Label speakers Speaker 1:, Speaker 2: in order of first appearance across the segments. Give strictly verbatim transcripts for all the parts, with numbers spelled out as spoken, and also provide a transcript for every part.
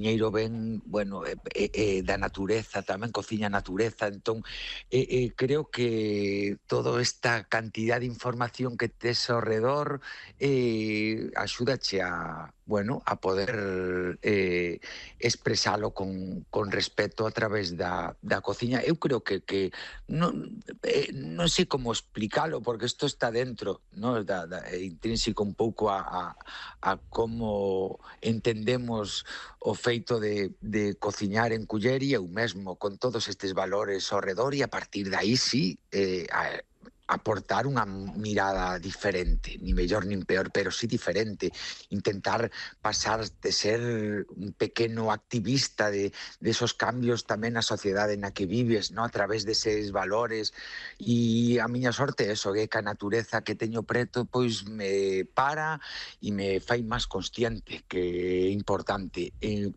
Speaker 1: coziñeiro ven, bueno, eh, eh, eh, da natureza, tamén cociña a natureza, entón eh, eh, creo que toda esta cantidad de información que tes ao redor eh, axúdache a, bueno, a poder eh, expresalo con, con respeto a través da, da cociña. Eu creo que, que non, eh, non sei como explicalo, porque isto está dentro, no? da, da, é intrínseco un pouco a, a, a como entendemos o feito de, de cociñar en culler, e eu mesmo con todos estes valores ao redor, e a partir de aí sí eh, a, aportar unha mirada diferente, ni mellor nin peor, pero sí diferente, intentar pasar de ser un pequeno activista de, de esos cambios tamén na sociedade na que vives, no? A través deses valores, e a miña sorte é eso, que a natureza que teño preto pois me para e me fai máis consciente, que é importante. Eh,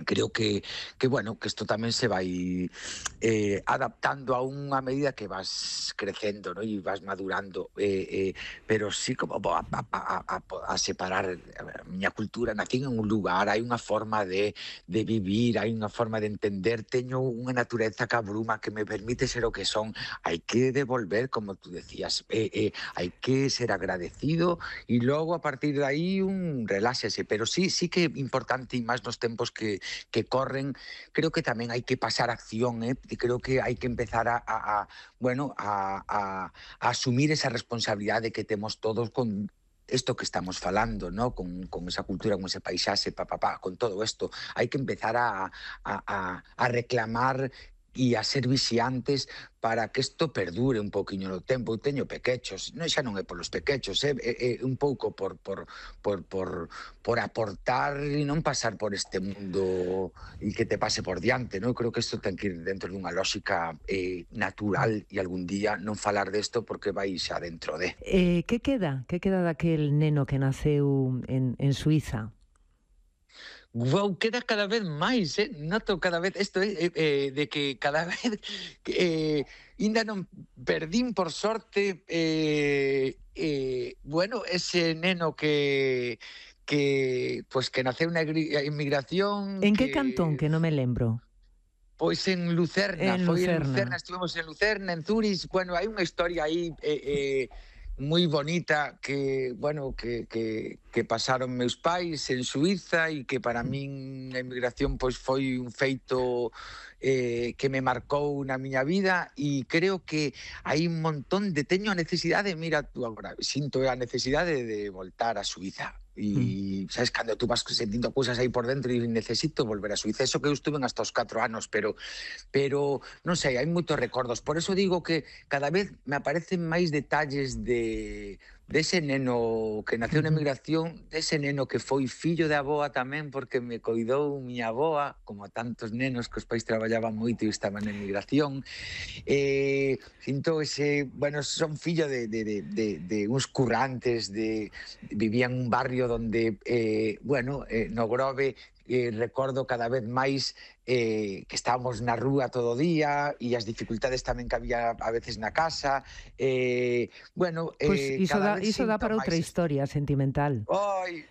Speaker 1: creo que, que bueno, que isto tamén se vai eh, adaptando a unha medida que vas crecendo, ¿no? E vas madurando, eh, eh, pero sí como a, a, a, a separar a miña cultura. Nacín en un lugar, hai unha forma de, de vivir, hai unha forma de entender, teño unha natureza que abruma, que me permite ser o que son. Hai que devolver, como tú decías, eh, eh, hai que ser agradecido, e logo a partir de aí un reláxese, pero sí, sí que é importante, e máis nos tempos que que corren, creo que tamén hai que pasar a acción, eh? creo que hai que empezar a, a, a bueno, a, a, a asumir esa responsabilidade que temos todos con isto que estamos falando, ¿no? con, con esa cultura, con ese paisaxe, pa, pa, pa, con todo isto. Hai que empezar a, a, a, a reclamar e a ser vixiantes para que isto perdure un poquinho no tempo. Eu teño pequechos, non, xa non é polos pequechos, é, é, é un pouco por, por, por, por, por aportar e non pasar por este mundo e que te pase por diante, non? Eu creo que isto ten que ir dentro dunha lógica eh, natural, e algún día non falar desto porque vai xa dentro de...
Speaker 2: Eh, que queda? Que queda daquel neno que naceu en, en Suiza?
Speaker 1: Wow, queda cada vez máis, eh? Noto cada vez isto é eh, eh, de que cada vez eh, ainda non perdín, por sorte, eh, eh, bueno, ese neno que que pues que naceu na inmigración,
Speaker 2: En que cantón,
Speaker 1: que
Speaker 2: que non me lembro?
Speaker 1: Pois en Lucerna,
Speaker 2: En
Speaker 1: foi en
Speaker 2: Lucerna.
Speaker 1: Lucerna, estivemos en Lucerna, en Zurich. Bueno, hai unha historia aí eh, eh, moi bonita que, bueno, que, que, que pasaron meus pais en Suiza, e que para min a inmigración pois foi un feito eh, que me marcou na miña vida, e creo que hai un montón de... Teño a necesidade, mira tú agora, sinto a necesidade de voltar a Suiza. E, sabes, cando tú vas sentindo cousas aí por dentro e necesito volver a Suiza. Eso que eu estuve hasta os catro anos, pero, pero non sei, hai moitos recordos. Por eso digo que cada vez me aparecen máis detalles de dese neno que naceu na emigración, dese neno que foi fillo de avoa tamén, porque me coidou miña avoa, como a tantos nenos que os pais traballaban moito e estaban na emigración. Eh, sinto ese, bueno, son fillo de, de, de, de, de uns currantes, de, vivía en un barrio donde, eh, bueno, eh, no Grove, eh, recordo cada vez máis eh, que estábamos na rúa todo o día, e as dificultades tamén que había a veces na casa. Eh, bueno, eh,
Speaker 2: Pois pues iso,
Speaker 1: cada
Speaker 2: da,
Speaker 1: vez
Speaker 2: iso dá para outra
Speaker 1: máis...
Speaker 2: historia sentimental.
Speaker 1: Ai,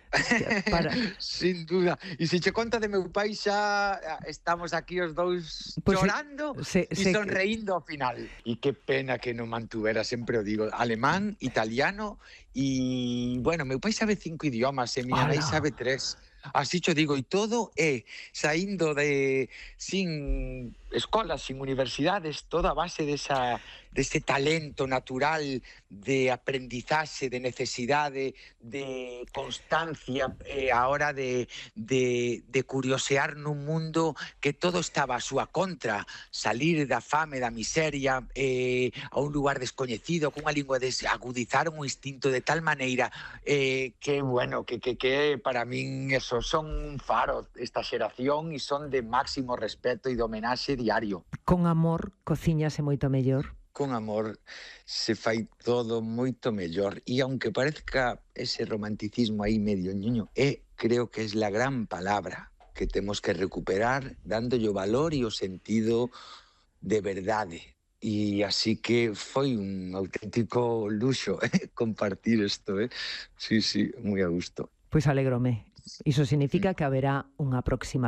Speaker 1: para... sin duda. E se che conta de meu pai, xa estamos aquí os dous pues chorando
Speaker 2: se,
Speaker 1: e
Speaker 2: se,
Speaker 1: sonreindo ao final. E que pena que non mantuvera, sempre o digo, alemán, italiano e, bueno, meu pai sabe cinco idiomas e miña nai sabe tres. Así cho digo, e todo é saindo de sin escolas, sin universidades, toda a base desa, dese talento natural de aprendizaxe, de necesidade, de constancia eh, a hora de, de, de curiosear nun mundo que todo estaba a súa contra, salir da fame, da miseria, eh, a un lugar descoñecido, cunha lingua, de agudizar un instinto de tal maneira eh, que, bueno, que, que, que para min eso, son un faro esta xeración, e son de máximo respeto e de homenaxe diario.
Speaker 2: Con amor cociñase moito mellor.
Speaker 1: Con amor se fai todo moito mellor, e aunque parezca ese romanticismo aí medio ñuño, é, creo que é la gran palabra que temos que recuperar, dándolle o valor e o sentido de verdade. E así que foi un auténtico luxo eh, compartir isto, eh? Sí, sí, moi a gusto.
Speaker 2: Pois alégrome. Iso significa que haberá unha próxima vez.